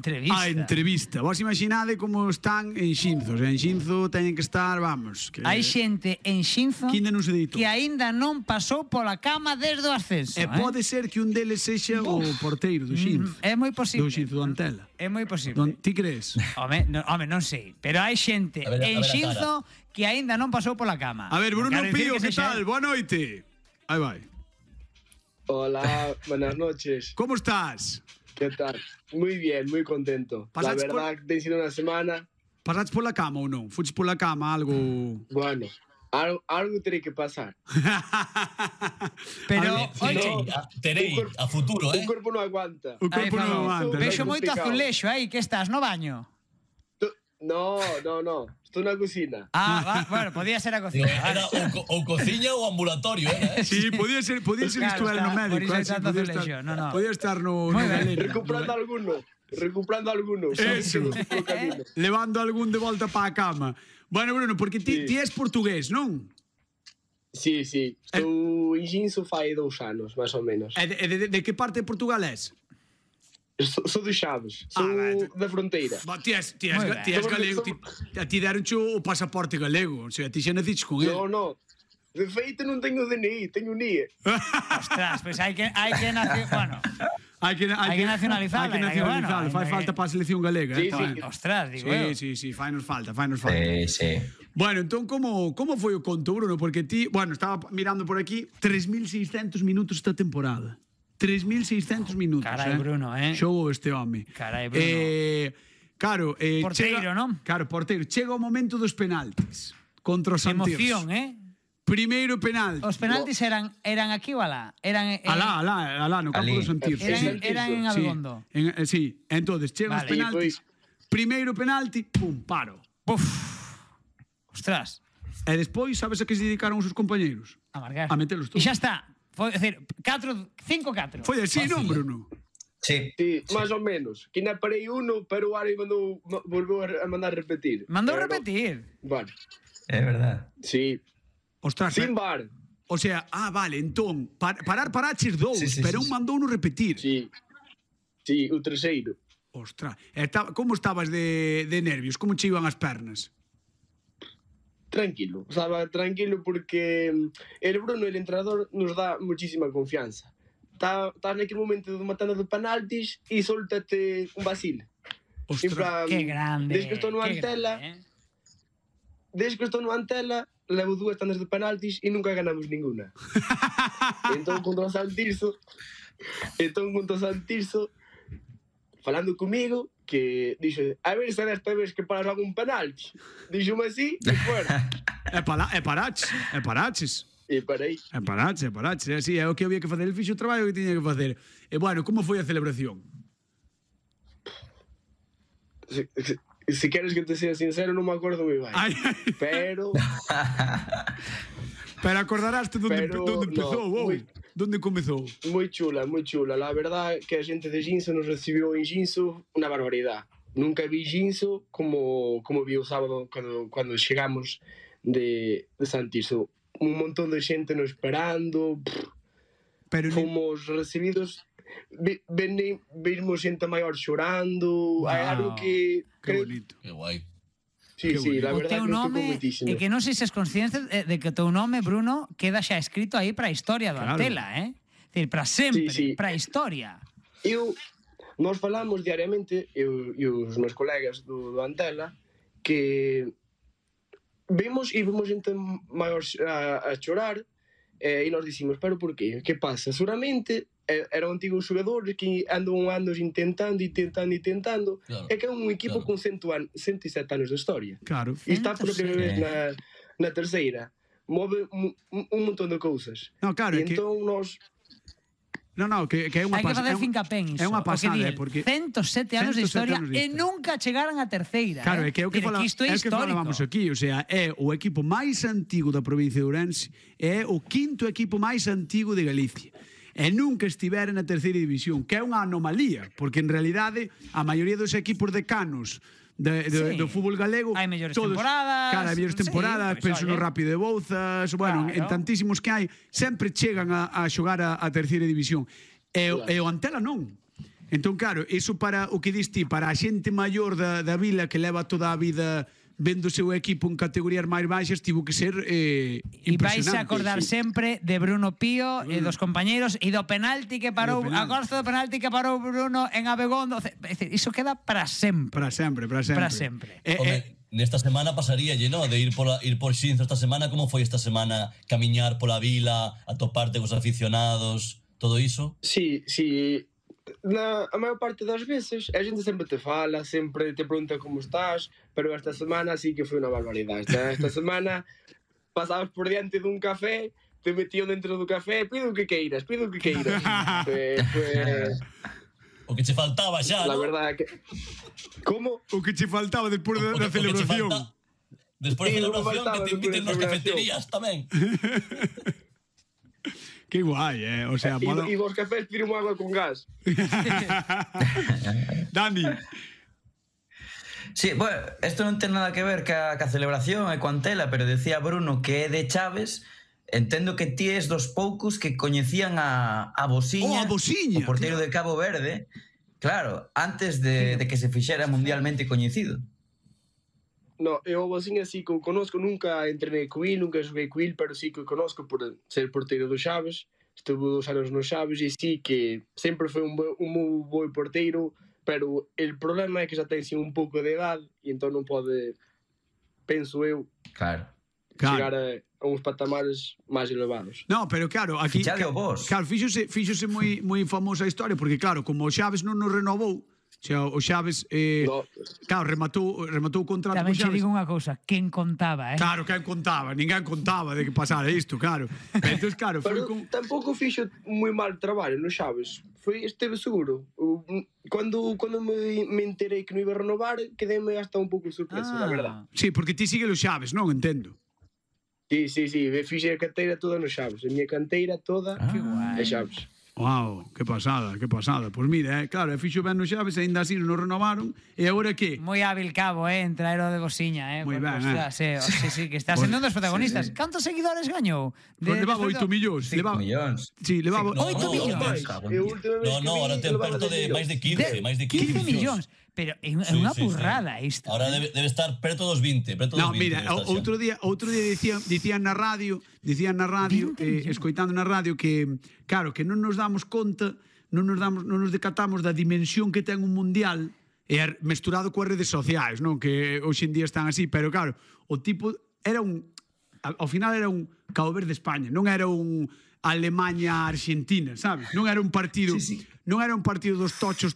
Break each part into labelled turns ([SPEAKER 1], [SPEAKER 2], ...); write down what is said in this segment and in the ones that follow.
[SPEAKER 1] entrevista.
[SPEAKER 2] A entrevista. Vos imaginade como están en Xinzo. En Xinzo teñen que estar, vamos, que
[SPEAKER 1] hai xente en Xinzo
[SPEAKER 2] que ainda non se deitou.
[SPEAKER 1] que aínda non pasou pola cama desde o ascenso.
[SPEAKER 2] E pode ser que un deles sexa o porteiro do Xinzo.
[SPEAKER 1] É moi posible.
[SPEAKER 2] Do Xinzo do Antela.
[SPEAKER 1] É moi posible.
[SPEAKER 2] Ti crees?
[SPEAKER 1] Home, non sei, pero hai xente en Xinzo que aínda non pasou pola cama.
[SPEAKER 2] A ver, Bruno
[SPEAKER 1] Quero dicir
[SPEAKER 2] Pío, que
[SPEAKER 1] sexa-
[SPEAKER 2] tal? Boa noite. Aí vai.
[SPEAKER 3] Hola, buenas noches.
[SPEAKER 2] Como estás?
[SPEAKER 3] ¿Qué tal? Muy bien, muy contento. La
[SPEAKER 2] Pasaste
[SPEAKER 3] verdad que ha sido una semana.
[SPEAKER 2] Pasaste pola cama ou non? Fuches pola cama algo...
[SPEAKER 3] Bueno, algo tiene que pasar.
[SPEAKER 1] Pero, oye,
[SPEAKER 4] Terei a futuro,
[SPEAKER 3] Un cuerpo no aguanta.
[SPEAKER 2] O corpo non aguanta.
[SPEAKER 1] vexo
[SPEAKER 3] Vai
[SPEAKER 1] moito
[SPEAKER 3] complicado.
[SPEAKER 1] azulexo aí, que estás no baño?
[SPEAKER 3] No. Estoy en la cocina.
[SPEAKER 1] Bueno, podía ser a cocina.
[SPEAKER 4] Era ou cociña ou ambulatorio, era,
[SPEAKER 2] Sí, podía ser
[SPEAKER 1] Claro,
[SPEAKER 2] estuar no
[SPEAKER 1] está,
[SPEAKER 2] médico.
[SPEAKER 1] por iso hai
[SPEAKER 2] Sí,
[SPEAKER 1] tanto
[SPEAKER 2] podía
[SPEAKER 1] azulexo. No.
[SPEAKER 2] Podía estar no
[SPEAKER 1] Moi ben.
[SPEAKER 2] galeno.
[SPEAKER 3] Recuperando alguno.
[SPEAKER 2] Eso.
[SPEAKER 3] Por camino.
[SPEAKER 2] Levando algún de volta para a cama. Bueno, Bruno, porque ti és portugués, non?
[SPEAKER 3] Sí. Estou en Ginso fai 2 anos, máis ou menos.
[SPEAKER 2] E de que parte de Portugal és?
[SPEAKER 3] Sou de Chaves. Sou da fronteira.
[SPEAKER 2] Ti és
[SPEAKER 1] Moi ben.
[SPEAKER 2] galego. A ti deronche o pasaporte galego. O sea, ti xa naciches con ele.
[SPEAKER 3] No. De feito non teño DNI, teño NIE.
[SPEAKER 1] Ostras, pues hai que bueno,
[SPEAKER 2] Hai que
[SPEAKER 1] nacionalizala,
[SPEAKER 2] Hai que nacionalizala.
[SPEAKER 1] bueno,
[SPEAKER 2] Fai falta para a selección galega.
[SPEAKER 3] Sí,
[SPEAKER 2] tamén.
[SPEAKER 1] ostras, digo eu.
[SPEAKER 2] Sí, fainos falta.
[SPEAKER 5] Sí.
[SPEAKER 2] Bueno, entón, como foi o conto, Bruno? Porque ti, bueno, estaba mirando por aquí, 3.600 minutos esta temporada. 3.600 minutos.
[SPEAKER 1] Carai, Bruno,
[SPEAKER 2] Xogou este home.
[SPEAKER 1] Carai, Bruno.
[SPEAKER 2] Claro,
[SPEAKER 1] Porteiro, non?
[SPEAKER 2] Claro, porteiro. Chega o momento dos penaltis contra o Santiago.
[SPEAKER 1] Emoción,
[SPEAKER 2] Primeiro penalti.
[SPEAKER 1] Os penaltis eran aquí ou alá? Eran
[SPEAKER 2] Alá, no campo do Santirso.
[SPEAKER 1] Eran en Abegondo.
[SPEAKER 2] Sí, entonces chegan os
[SPEAKER 1] Vale.
[SPEAKER 2] penaltis. Primeiro penalti, pum, paro.
[SPEAKER 1] Puf. Ostras,
[SPEAKER 2] E despois, sabes a que se dedicaron os seus compañeiros?
[SPEAKER 1] a marcar.
[SPEAKER 2] A metelos
[SPEAKER 1] E
[SPEAKER 2] todos.
[SPEAKER 1] xa está. Foi, é dicir, 5-4.
[SPEAKER 2] Foi así, non, Bruno?
[SPEAKER 5] Sí.
[SPEAKER 3] Sí, más o menos. Que na parei uno, pero o Ari volveu a mandar repetir.
[SPEAKER 1] Mandou
[SPEAKER 3] Pero
[SPEAKER 1] repetir.
[SPEAKER 3] Bueno,
[SPEAKER 5] É verdad.
[SPEAKER 3] sí.
[SPEAKER 2] Ostras,
[SPEAKER 3] Sin bar.
[SPEAKER 2] o sea, vale, entón, paraches dous,
[SPEAKER 5] Sí,
[SPEAKER 2] pero un mandou no repetir.
[SPEAKER 3] Sí. Sí, o terceiro.
[SPEAKER 2] Ostras, como estabas de nervios? Como che iban as pernas?
[SPEAKER 3] Tranquilo. Estaba tranquilo porque el Bruno, el entrenador, nos da muchísima confianza. Estás naquele momento de matando de penaltis e soltate un vacile.
[SPEAKER 2] Ostras,
[SPEAKER 3] En plan,
[SPEAKER 1] Qué grande.
[SPEAKER 3] Desde que estou no Antela, levo 2 tandas de penaltis e nunca ganamos ninguna. entón contra o Santirso, falando comigo, que dixo, a ver se desta vez que paras algún penalti. Dixo-me así, e fuera.
[SPEAKER 2] paraches.
[SPEAKER 3] E parei.
[SPEAKER 2] Paraches. É así, é o que había que facer. El fixo o traballo que tiña que facer. E bueno, como foi a celebración?
[SPEAKER 3] Se queres que te sea sincero, non me acordo moi ben. Pero
[SPEAKER 2] acordaraste donde empezou, Donde comezou?
[SPEAKER 3] moi chula. La verdad que a xente de Ginso nos recibiu en Ginso unha barbaridade. Nunca vi Ginso como vi o sábado cando chegamos de Santirso. Un montón de xente nos esperando.
[SPEAKER 2] Pero
[SPEAKER 3] Fomos recibidos. Vimos xente maior chorando. Hai algo que
[SPEAKER 2] bonito.
[SPEAKER 4] Que guai.
[SPEAKER 3] Sí, la
[SPEAKER 1] O
[SPEAKER 3] verdad
[SPEAKER 1] teu
[SPEAKER 3] que nos tocou
[SPEAKER 1] nome,
[SPEAKER 3] moitísimo.
[SPEAKER 1] e que non sei se es consciente de que o teu nome, Bruno, queda xa escrito aí para a historia do
[SPEAKER 2] Claro.
[SPEAKER 1] Antela, É dicir, para sempre,
[SPEAKER 3] Sí.
[SPEAKER 1] para a historia.
[SPEAKER 3] Nós falamos diariamente, eu e os meus colegas do Antela, que vimos xente maior a chorar, e nós dicimos, pero por qué? Que pasa? Seguramente eran antigos xogadores que andan anos intentando,
[SPEAKER 4] Claro,
[SPEAKER 3] e que é un equipo
[SPEAKER 4] claro.
[SPEAKER 3] con 107 anos de historia.
[SPEAKER 2] Claro.
[SPEAKER 3] E está por primeira vez
[SPEAKER 5] 107.
[SPEAKER 3] na terceira. Move un montón de cousas.
[SPEAKER 2] No, claro,
[SPEAKER 3] E
[SPEAKER 2] é que...
[SPEAKER 3] entón nós...
[SPEAKER 2] No, que é unha
[SPEAKER 1] Hai que
[SPEAKER 2] pasada.
[SPEAKER 1] facer fincapé en iso.
[SPEAKER 2] É unha pasada,
[SPEAKER 1] O que di,
[SPEAKER 2] porque
[SPEAKER 1] 107 anos de
[SPEAKER 2] 107
[SPEAKER 1] historia
[SPEAKER 2] anos de
[SPEAKER 1] e
[SPEAKER 2] historia.
[SPEAKER 1] nunca chegaran a terceira.
[SPEAKER 2] Claro, é que é o que,
[SPEAKER 1] Isto é
[SPEAKER 2] é o que
[SPEAKER 1] histórico.
[SPEAKER 2] falábamos aquí, o sea, é o equipo máis antigo da provincia de Ourense, é o quinto equipo máis antigo de Galicia. E nunca estivera na terceira división, que é unha anomalía, porque en realidade a maioría dos equipos decanos
[SPEAKER 1] Sí.
[SPEAKER 2] do fútbol galego
[SPEAKER 1] Hai mellores
[SPEAKER 2] todos,
[SPEAKER 1] temporadas,
[SPEAKER 2] Cara, hai mellores
[SPEAKER 1] sí,
[SPEAKER 2] temporadas,
[SPEAKER 1] pois,
[SPEAKER 2] penso no
[SPEAKER 1] oye.
[SPEAKER 2] Rápido de Bouzas, bueno,
[SPEAKER 1] Claro.
[SPEAKER 2] en tantísimos que hai, sempre chegan a xogar a terceira división. E o Antela non. Entón, claro, iso para o que diste, para a xente maior da vila que leva toda a vida vendo o seu equipo en categorías máis baixas, tivo que ser
[SPEAKER 1] E vais
[SPEAKER 2] impresionante.
[SPEAKER 1] a acordar sempre de Bruno Pío e dos compañeiros e do penalti que parou, a gosto do penalti que parou Bruno en Abegondo. É dicir, iso queda para sempre.
[SPEAKER 2] Para sempre, para sempre.
[SPEAKER 1] Para sempre.
[SPEAKER 4] Home, nesta semana pasaríalle, ¿no? De ir por Xinzo esta semana. Como foi esta semana camiñar pola vila, atoparte cos aficionados, todo iso?
[SPEAKER 3] Sí. A maior parte das veces a xente sempre te fala, sempre te pregunta como estás, pero esta semana sí que foi unha barbaridade. Esta semana pasabas por diante dun café, te metían dentro do café, pido o que queiras. Foi
[SPEAKER 4] O que che faltaba xa,
[SPEAKER 3] la
[SPEAKER 4] ¿no?
[SPEAKER 3] verdade que... Como?
[SPEAKER 2] O que che faltaba despois da celebración.
[SPEAKER 4] Despois da
[SPEAKER 3] Sí,
[SPEAKER 4] celebración que te inviten nas cafeterías tamén.
[SPEAKER 2] Que guai, o sea, mola...
[SPEAKER 3] E vos cafés tiran agua con gas.
[SPEAKER 2] Dani,
[SPEAKER 5] Sí, bueno, esto non ten nada que ver ca celebración e coa Antela, pero decía Bruno que é de Chaves. Entendo que ti és dos poucos que coñecían a Bosiña,
[SPEAKER 2] a Bosiña,
[SPEAKER 5] o porteiro de Cabo Verde, claro, antes de que se fixera mundialmente coñecido.
[SPEAKER 3] No, eu assim que o conozco, nunca entrenei co il, nunca xoguei co il, pero sí que o conozco por ser porteiro do Chaves. Estuve 2 anos no Chaves e sí que sempre foi un moi bo porteiro, pero el problema é que xa ten un pouco de edad e entón non pode, penso eu,
[SPEAKER 5] Claro.
[SPEAKER 3] chegar a uns patamares máis elevados.
[SPEAKER 2] no, pero claro, aquí
[SPEAKER 5] Fichade o vos.
[SPEAKER 2] claro, fíxose moi famosa a historia, porque claro, como o Xaves non nos renovou, o Xaves
[SPEAKER 3] No,
[SPEAKER 2] claro, rematou o contrato
[SPEAKER 1] Tamén
[SPEAKER 2] co
[SPEAKER 1] che
[SPEAKER 2] Xaves.
[SPEAKER 1] digo unha cousa, quen contaba,
[SPEAKER 2] Claro, quen contaba, ninguén contaba de que pasara isto, claro. Entón, claro, foi
[SPEAKER 3] pero
[SPEAKER 2] con...
[SPEAKER 3] tampouco fixo moi mal traballo no Chaves. Esteve seguro. Cando me enterei que non iba a renovar, quedeme hasta un pouco sorpreso, la verdad.
[SPEAKER 2] Sí, porque ti sigue o Xaves, non? Entendo.
[SPEAKER 3] Sí, fixe a canteira toda no Chaves. A miña canteira toda
[SPEAKER 1] Que guai.
[SPEAKER 3] é Chaves.
[SPEAKER 2] Wow, que pasada, que pasada. Pois mira, claro, fixo ben no Xaves, aínda así non renovaron, e agora que?
[SPEAKER 1] Moi hábil Cabo, en traer o de Bosiña,
[SPEAKER 2] Moi
[SPEAKER 1] porque,
[SPEAKER 2] ben,
[SPEAKER 1] ostras, sí, que está sendo un dos protagonistas. Cantos seguidores gañou?
[SPEAKER 2] Pois levaba 8 millóns.
[SPEAKER 5] 5 millóns.
[SPEAKER 2] Sí, levaba...
[SPEAKER 4] No,
[SPEAKER 1] 8 millóns.
[SPEAKER 4] No, ahora ten perto de máis de 15, máis de
[SPEAKER 1] 15 millóns. Pero é unha burrada isto.
[SPEAKER 4] Ahora debe estar preto dos 20, preto dos 20.
[SPEAKER 2] No, mira,
[SPEAKER 4] debe estar
[SPEAKER 2] outro día dicían na radio, escoitando na radio que, claro, que non nos damos conta, non nos decatamos da dimensión que ten un mundial mesturado coas redes sociais, non? Que hoxe en día están así, pero claro, o tipo era ao final era un Cabo Verde España, non era un Alemanha-Argentina, sabes? Non era un partido, non era un partido dos tochos.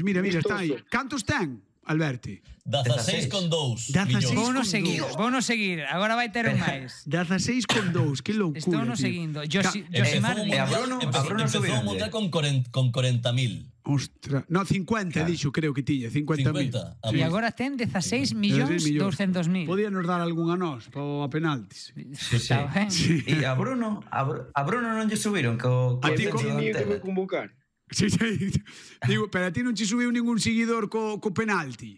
[SPEAKER 2] Mira, está aí. Cantos ten, Alberti?
[SPEAKER 4] 16,2 millóns.
[SPEAKER 1] Vouno seguir. Agora vai ter un máis.
[SPEAKER 2] 16,2, que loucura.
[SPEAKER 1] Estou no
[SPEAKER 2] tío.
[SPEAKER 1] seguindo. Josimar
[SPEAKER 5] E a Bruno
[SPEAKER 4] Empezou o
[SPEAKER 5] subironlle.
[SPEAKER 4] mundial con 40.000.
[SPEAKER 2] Ostra, no, 50, dixo, creo que tiña, 50.000.
[SPEAKER 4] 50.
[SPEAKER 1] E agora ten 16 millóns 200.000.
[SPEAKER 2] Podíanos dar algún a nós, a penaltis.
[SPEAKER 1] Está ben.
[SPEAKER 5] E a Bruno non lle subiron co
[SPEAKER 2] A ti
[SPEAKER 3] Tiña que me convocar.
[SPEAKER 2] Sí. Digo, pero a ti non che subiu ningún seguidor co penalti.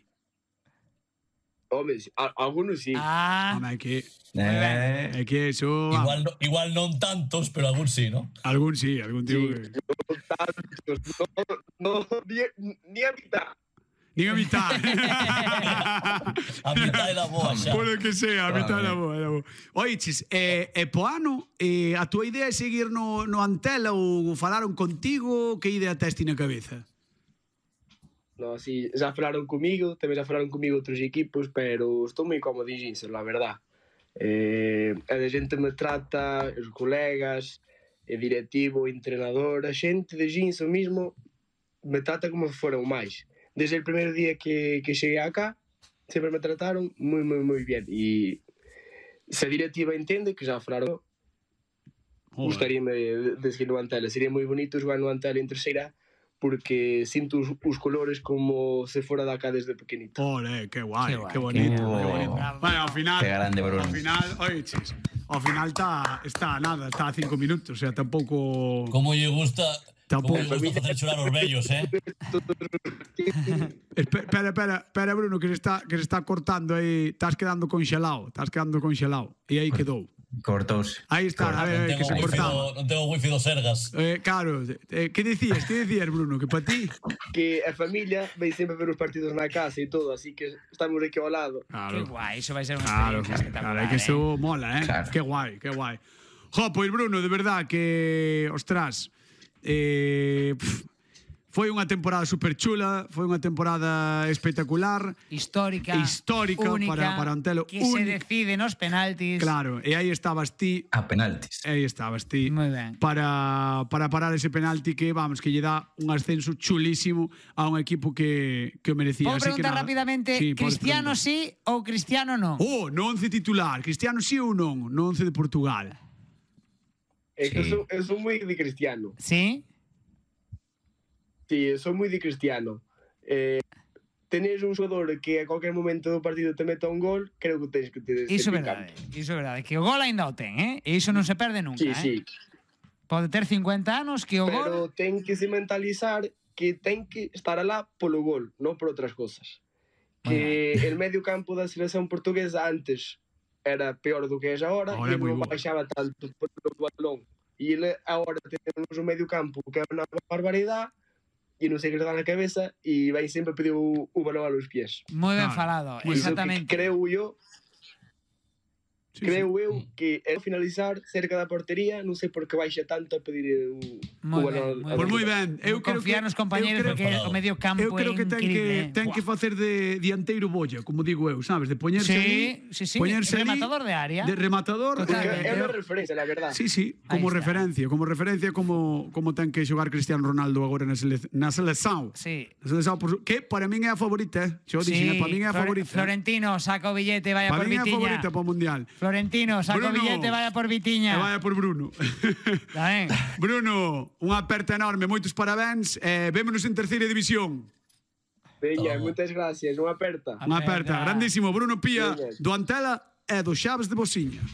[SPEAKER 3] Home, algunos sí.
[SPEAKER 2] Home, é que eso...
[SPEAKER 4] Igual non tantos, pero algún sí, ¿no?
[SPEAKER 2] Algún sí, algún tipo que...
[SPEAKER 3] No, ni a mitad.
[SPEAKER 2] Nin a mitad.
[SPEAKER 4] A mitad era boa xa.
[SPEAKER 2] Por o que sea, a mitad era boa. Oiches, po ano, a túa idea é seguir no Antela ou falaron contigo? Que idea tes ti na cabeza?
[SPEAKER 3] No, sí, xa falaron comigo, tamén xa falaron comigo outros equipos, pero estou moi cómodo en Ginser, la verdad. A xente me trata, os colegas, o directivo, o entrenador, a xente de Ginser mismo me trata como se fora o máis. Desde o primeiro día que cheguei acá, sempre me trataron moi bien. E se a directiva entende, que xa falaron, gustaríame de seguir no Antela. Sería moi bonito xogar no Antela en terceira, porque sinto os colores como se fora da acá desde pequenito.
[SPEAKER 2] Ole, que guai, que bonito. Bueno, ao final...
[SPEAKER 5] Que grande, Bruno.
[SPEAKER 2] Ao final, oiches, ao final está a 5 minutos, o sea, tampouco...
[SPEAKER 4] Como lle gusta...
[SPEAKER 2] Tampouco.
[SPEAKER 4] Como lle gusta facer chorar os vellos,
[SPEAKER 2] Espera, Bruno, que se está cortando aí. Estás quedando conxelado. E aí quedou.
[SPEAKER 5] Cortouse.
[SPEAKER 2] Aí está, a ver, que se cortaba.
[SPEAKER 4] Non tengo wifi do Sergas.
[SPEAKER 2] Claro, que dicías, Bruno? Que para ti?
[SPEAKER 3] Que a familia vai sempre ver os partidos na casa e todo, así que estamos aquí ao lado.
[SPEAKER 1] Que guai, iso vai ser unha
[SPEAKER 2] Claro,
[SPEAKER 1] experiencia espectacular.
[SPEAKER 2] que eso mola,
[SPEAKER 5] Claro.
[SPEAKER 2] Qué guai, qué guai. Jo, pois Bruno, de verdad que, ostras, foi unha temporada super chula, foi unha temporada espectacular,
[SPEAKER 1] Histórica, única,
[SPEAKER 2] para Antelo,
[SPEAKER 1] que se decide nos penaltis.
[SPEAKER 2] claro, e aí estabas ti,
[SPEAKER 5] A penaltis.
[SPEAKER 1] Moi ben.
[SPEAKER 2] para parar ese penalti que, vamos, que lle dá un ascenso chulísimo a un equipo que o merecía.
[SPEAKER 1] Podo
[SPEAKER 2] Así que
[SPEAKER 1] preguntar
[SPEAKER 2] nada.
[SPEAKER 1] rapidamente,
[SPEAKER 2] Sí, podes
[SPEAKER 1] Cristiano
[SPEAKER 2] preguntar.
[SPEAKER 1] sí ou Cristiano non?
[SPEAKER 2] No 11 titular, Cristiano sí ou non? No 11 de Portugal.
[SPEAKER 3] É que eu sou moi de Cristiano.
[SPEAKER 1] Sí?
[SPEAKER 3] Sí, eu sou moi de Cristiano. Tenes un xogador que a cualquier momento do partido te meta un gol, creo que tens que ter
[SPEAKER 1] Iso é verdade, iso é verdade. Que o gol ainda o ten, E iso non se perde nunca,
[SPEAKER 3] Sí, sí.
[SPEAKER 1] Pode ter 50 anos que o
[SPEAKER 3] Pero
[SPEAKER 1] gol...
[SPEAKER 3] ten que se mentalizar que ten que estar alá polo gol, non por outras cosas. Que el medio campo da selección portuguesa antes era peor do que é agora
[SPEAKER 2] Ahora é
[SPEAKER 3] e
[SPEAKER 2] moi
[SPEAKER 3] non
[SPEAKER 2] bo.
[SPEAKER 3] baixaba tanto polo balón. E ele agora temos un medio campo que é unha barbaridade e non sei que le dá na cabeza e vai sempre pedir o balón a los pies.
[SPEAKER 1] Moi ben
[SPEAKER 2] Claro.
[SPEAKER 1] falado,
[SPEAKER 3] Iso
[SPEAKER 1] exactamente.
[SPEAKER 3] que creo eu
[SPEAKER 2] Sí,
[SPEAKER 3] creo eu que ao finalizar cerca da portería non sei por que baixa tanto a pedir o
[SPEAKER 1] Moi
[SPEAKER 3] balón.
[SPEAKER 1] ben,
[SPEAKER 2] Pois moi ben, eu creo
[SPEAKER 1] Confiar
[SPEAKER 2] que
[SPEAKER 1] nos compañeros
[SPEAKER 2] eu creo-
[SPEAKER 1] porque o medio campo
[SPEAKER 2] Eu creo que
[SPEAKER 1] é increíble.
[SPEAKER 2] ten que facer de dianteiro bolla, como digo eu, sabes, de poñerse ali,
[SPEAKER 1] Sí,
[SPEAKER 2] poñerse ali,
[SPEAKER 1] rematador de área.
[SPEAKER 2] de rematador,
[SPEAKER 1] Totalmente.
[SPEAKER 3] É unha referencia, la verdad.
[SPEAKER 2] Sí,
[SPEAKER 1] Ahí
[SPEAKER 2] como
[SPEAKER 1] está.
[SPEAKER 2] referencia como ten que xogar Cristiano Ronaldo agora na selección.
[SPEAKER 1] Sí.
[SPEAKER 2] Na selección, que para min é a favorita, Xo dixen, para min é a favorita.
[SPEAKER 1] Florentino saca o billete, vaya
[SPEAKER 2] Para
[SPEAKER 1] por
[SPEAKER 2] min é a favorita
[SPEAKER 1] Vitiña.
[SPEAKER 2] para o Mundial.
[SPEAKER 1] Florentino saca o
[SPEAKER 2] Bruno.
[SPEAKER 1] billete, vaya por
[SPEAKER 2] E
[SPEAKER 1] Vitiña.
[SPEAKER 2] vaya por Bruno.
[SPEAKER 1] Está ben?
[SPEAKER 2] Bruno, unha aperta enorme, moitos parabéns, vémonos en terceira división.
[SPEAKER 3] Veña, moitas gracias, unha aperta.
[SPEAKER 2] Unha aperta, grandísimo, Bruno Pía,
[SPEAKER 3] Veña.
[SPEAKER 2] do Antela e do Xaves de Bosiña.